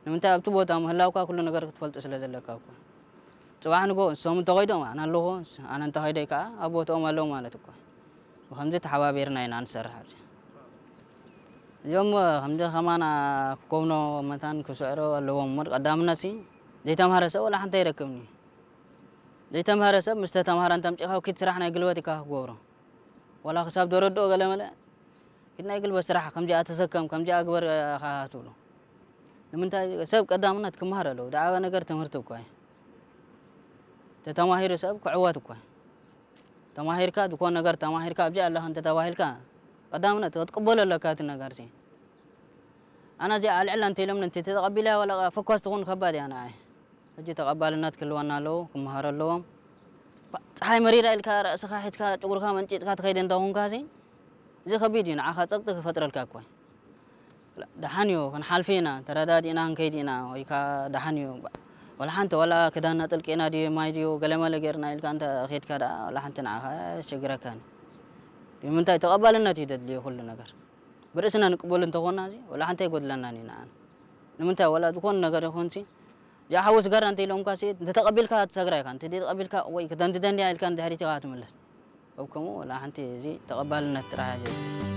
ንምንታይ ኣብቲ ቦታ ምህላውካ ኩሉ ነገር ክትፈልጡ ስለ ዘለካ እኮ። ጽባሕ ንጎ እሶም እንተኸይዶም ኣነ ኣለኹ፣ ኣነ እንተኸይደይ ከኣ ኣብ ቦታኦም ኣለዉ ማለት እኮ። ብኸምዚ ተሓባቢርና ኢና ንሰርሕ ኣብዚ። እዚኦም ከምዚ ከማና ክኮብኖ መታን ክስዕሮ ኣለዎም እሞ ቀዳምነት ሲ ዘይተምሃረ ሰብ ወላ ሓንቲ ኣይረክብን እዩ። ዘይተምሃረ ሰብ ምስ ተተምሃረ እንተምጪኻ ኪድ ስራሕ ናይ ግልበት ኢካ ክገብሮ። ወላ ክሳብ ደረድኦ ገለ መለ ኪድ ናይ ግልበት ስራሕ ከምዚኣ ተሰከም ከምዚኣ ግበር ኢኻ ትብሎ። ንምንታይ ሰብ ቀዳምነት ክመሃር ኣለዎ። ዝዓበ ነገር ትምህርቲ እኳ እዩ። ተተማሂሩ ሰብ ክዕወት እኳ እዩ። ተማሂርካ ዝኾነ ነገር ተማሂርካ ኣብዚ ኣለኻ እንተተባሂልካ ቀዳምነት ክትቅበሎ ኣለካ እቲ ነገር ሲ። ኣነ እዚኣ ኣልዕላ እንተ ኢሎምኒ እንተ ተቐቢለያ ዋላ ፈኳስ ትኹን ከባድ እያ ንዓይ። ሕጂ ተቐባልነት ክህልወና ኣለዎ፣ ክመሃሩ ኣለዎም። ባ- ፀሓይ መሪራ ኢልካ ርእስኻ ሒዝካ ጭጉርካ መንጪጥካ ትኸይድ እንተኾንካ ሲ እዚ ከቢድ እዩ፣ ንዓኻ ጸቕጢ ክፈጥረልካ እኮ እዩ። ደሓን እዩ፣ ክንሓልፍ ኢና፣ ተረዳዲእና ክንከይድ ኢና፣ ወይ ከኣ ደሓን እዩ። ወላ ሓንቲ ዋላ ክዳንና ጠልቂና ድዩ ማይ ድዩ ገለመለ ጌርና ኢልካ እንተ ኸይድካ ደኣ ዋላ ሓንቲ ንዓኻ ኣየስቸግረካን እዩ። ንምንታይ ተቐባልነት እዩ ደድልዮ ኩሉ ነገር። ብርእስና ንቅበሉ እንተኾና እዚ ወላ ሓንቲ ኣይጎድለናን እዩ ንዓና። ንምንታይ ዋላ ዝኾነ ነገር ይኹን ሲ እዚኣ ሓዊ ስጋራ እንተ ኢሎምካ ሲ እንተ ተቐቢልካ ትሰግራ ኢኻ፣ እንተ ዘይተቐቢልካ ወይ ክደንድደን እያ ኢልካ ንድሕሪት ኢኻ ትምለስ። ኣብ ከምኡ ወላ ሓንቲ እዚ ተቐባልነት ጥራሕ እያ።